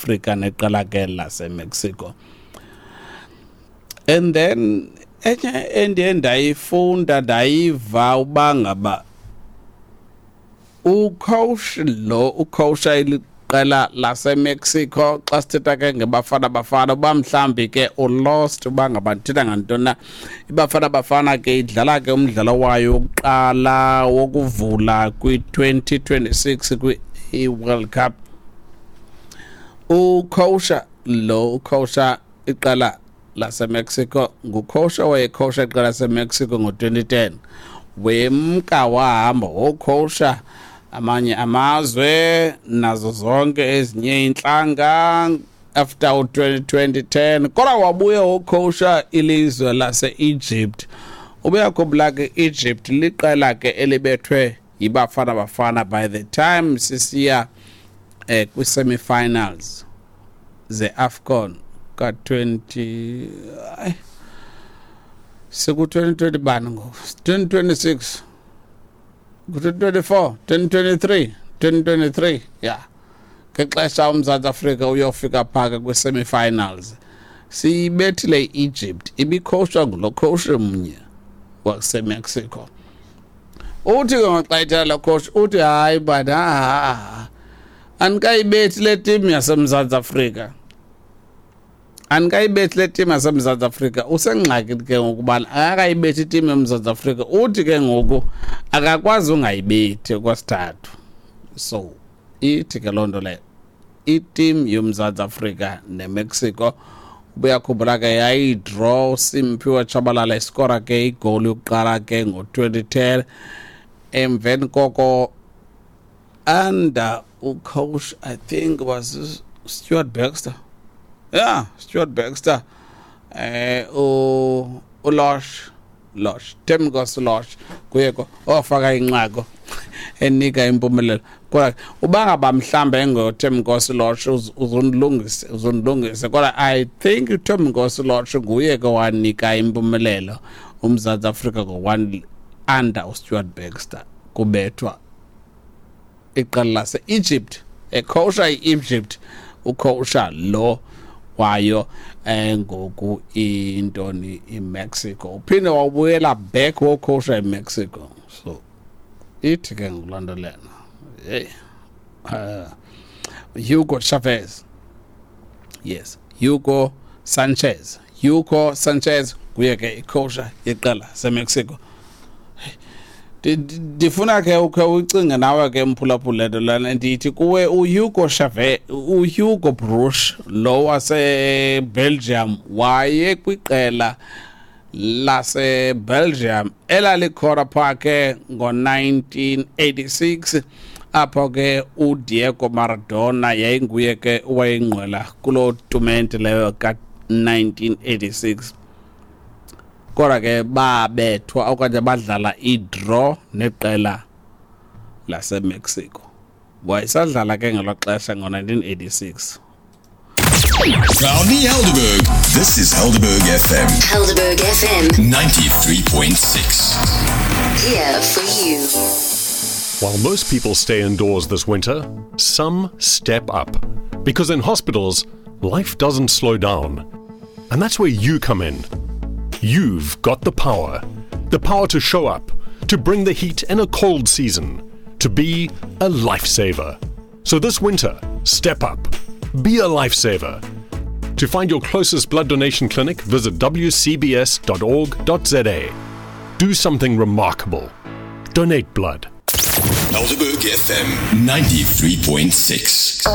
Afrika neqela ke laseMexico. And then enye endiye ndayifunda, ndayiva uba ngaba ucoach lo ucoacha iliqela laseMexico, xa sithetha ke ngeBafana Bafana, uba mhlawumbi ke ulost uba ngaba ndithetha ngantoni na, iBafana Bafana ke idlala ke umdlalo wayo wokuqala wokuvula kwi-2026 kwi-World Cup. Ucoacha lo ucoacha iqela laseMexico ngucoach owayecoacha iqela laseMexico ngo-2010, wemka wahamba wocoacha amanye amazwe nazo zonke ezinye iintlanga after u-2010, kodwa wabuya wocoacha ilizwe lase-Egypt. Ubuyakhumbula ke, Egypt liqela ke elibethwe yiBafana Bafana by the time sisiya kwi-semi-finals ze-AFCON ka-20, ay, siku-2020 bani ngoku? 2026, ku-2024, 2023, 2023, ya, ngexesha uMzantsi Afrika uyofika phaka kwi-semi-finals, siyibethile i-Egypt ibicoachwa ngulo coach mnye waseMexico. Uthi ke ngoxa ethetha lo coach, uthi hayi but ha, andikayibethi le team yaseMzantsi Afrika, andikayibethi le team yaseMzantsi Afrika. Usengxakini ke ngokubana akakayibethi iteam yoMzantsi Afrika. Uthi ke ngoku akakwazi ungayibethi okwesithathu. So ithi ke loo nto leyo iteam yoMzantsi Afrika neMexico, ubuyakhumbula ke, yayidraw, Simphiwe Tshabalala iskora ke igoli yokuqala ke ngo-2010. Emveni koko, under ucoach, I think was Stuart Baxter, yeah, Stuart Baxter, uLorch, Lorch, Thembinkosi Lorch kuye ko ofaka inqaku enika impumelelo. Kodwa uba ngaba mhlambe engoThembinkosi Lorch, uzondilungise, uzondilungise, kodwa I think uThembinkosi Lorch nguye ke wanika impumelelo uMzantsi Afrika ngo-1 under uStuart Baxter, kubethwa iqela lase-Egypt, ecoacha i-Egypt ucoacha lo wayo ngoku intoni, iMexico. Uphinde wabuyela back wocoacha iMexico. So ithi ke ngokulandelana, hey, Hugo Chavez, yes, Hugo Sanchez, Hugo Sanchez kuye ke icoacha yeqela seMexico. Ndifuna ke ukhe ucinge nawe ke, mphulaphula, le nto lana ndithi kuwe, uHugo Chavez, uHugo Broos lo waseBelgium, waye kwiqela laseBelgium elalikhona phaa ke ngo-1986, apho ke uDiego Maradona yayinguye ke owayengqwela kuloo tumente leyo ka-1986, kodwa ke babethwa okanye badlala i-draw neqela laseMexico. Wayesadlala ke ngelo xesha ngo-1986. Proudly Helderberg. This is Helderberg FM. Helderberg FM. 93.6. Here for you. While most people stay indoors this winter, some step up. Because in hospitals, life doesn't slow down. And that's where you come in. You've got the power. The power to show up, to bring the heat in a cold season, to be a lifesaver. So this winter, step up. Be a lifesaver. To find your closest blood donation clinic, visit wcbs.org.za. Do something remarkable. Donate blood. Helderberg FM 93.6.